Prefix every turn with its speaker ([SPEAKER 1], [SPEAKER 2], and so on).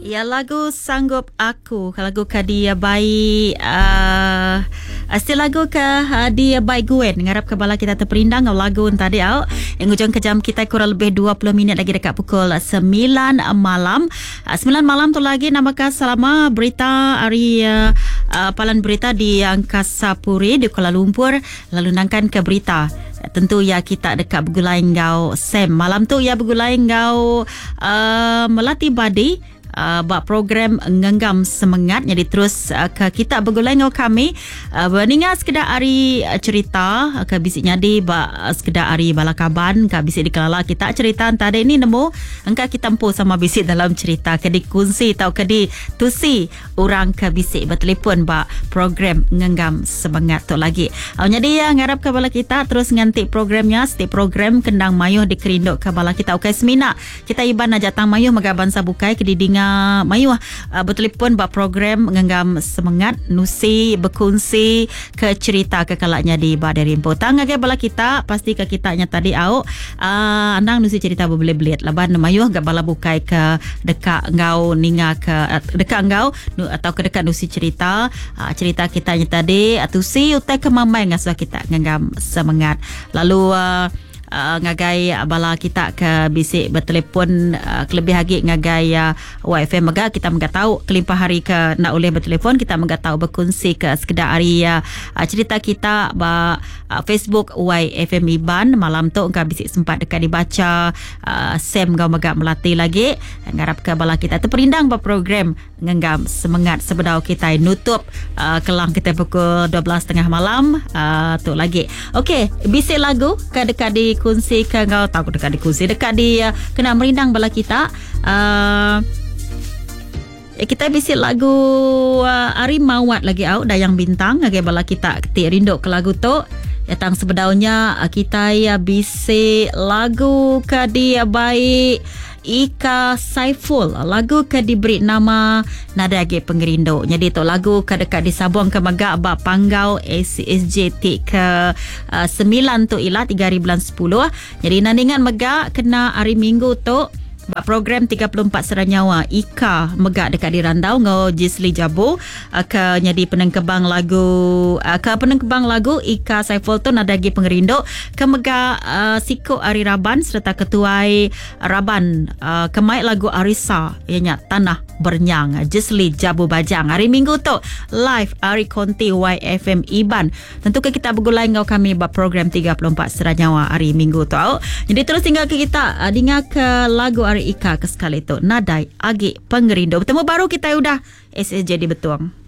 [SPEAKER 1] Ya lagu Sanggup Aku lagu ke dibai uh, still lagu ke uh, dibai Gwen ngarap ke bala kita terperindang ngau lagu tadi au. Yang ujung ke jam kita kurang lebih 20 minit lagi dekat pukul 9 malam. 9 malam tu lagi nambahkan selama berita hari uh, uh, palan berita di Angkasa Puri di Kuala Lumpur lalu nangkan ke berita tentu ya kita dekat bergulai ngau Sam malam tu ya bergulai ngau uh, Melati Badi uh, program Ngenggam Semengat. Jadi terus uh, ke kita bergulai ngau kami uh, berninga sekedar hari uh, cerita uh, ke bisik nyadi ba uh, sekedar hari bala kaban ke bisik dikelala kita cerita tadi ni nemu engka kita empu sama bisik dalam cerita ke dikunsi atau ke ditusi orang ke bisik bertelefon ba program Ngenggam Semengat tu lagi. Uh, jadi ya ngarap ke bala kita terus nganti programnya setiap program kendang mayuh dikerinduk ke bala kita. Okey semina kita iban aja tang mayuh mega bansa bukai ke didinga mayuh uh, bertelefon ba program Ngenggam Semengat nusi berkongsi ke cerita ke kalaknya di ba dari empu. Tang ngagai bala kita pasti ke kita nya tadi au uh, andang nusi cerita berbelit-belit laban mayuh ga bala bukai ke dekat ngau ninga ke uh, dekat ngau atau ke dekat nusi cerita uh, cerita kita nya tadi atusi utai ke mamai ngasuh kita ngenggam semangat. Lalu uh, Uh, ngagai bala kita ke bisik bertelefon uh, kelebih lagi ngagai uh, YFM mega kita mega tahu kelimpah hari ke nak boleh bertelefon kita mega tahu berkongsi ke sekedar hari uh, cerita kita ba uh, Facebook YFM Iban malam tu engkau bisik sempat dekat dibaca uh, Sam gau mega melatih lagi ngarap ke bala kita terperindang ba program Ngenggam Semangat sebedau kita nutup uh, kelang kita pukul 12.30 malam uh, tu lagi. Okey, bisik lagu ke dekat di kunsi ke ngau tahu dekat di kunsi dekat di uh, kena merindang bala kita uh, kita bisik lagu uh, Ari Mawat lagi au Dayang Bintang ngagai bala kita ketik rindu ke lagu tu. Datang sebedaunya kita ya bisik lagu ke dia baik Ika Saiful, lagu ke diberi nama Nada Agi Pengerindu. Jadi tu lagu ke dekat disabung ke megak bak Panggau SSJ ke uh, 9 tu ialah 3 hari bulan 10. Jadi nandingan megak kena hari Minggu tu bak program 34 Seranyawa Ika megak dekat di Randau ngau Jisli Jabu ke jadi penengkebang lagu ke penengkebang lagu Ika Saiful tu Nada Agi Pengerindu ke megak uh, Siko Ari Raban serta ketuai Raban uh, kemai lagu Arisa ianya Tanah Bernyang Jisli Jabu Bajang hari Minggu tu live Ari Konti YFM Iban. Tentu ke kita bergulai ngau kami bak program 34 Seranyawa hari Minggu tu. Jadi terus tinggal ke kita uh, dengar ke lagu Ari Ika ke sekali tu Nadai Agi Pengerindu. Bertemu baru kita udah SSJ di Betuang.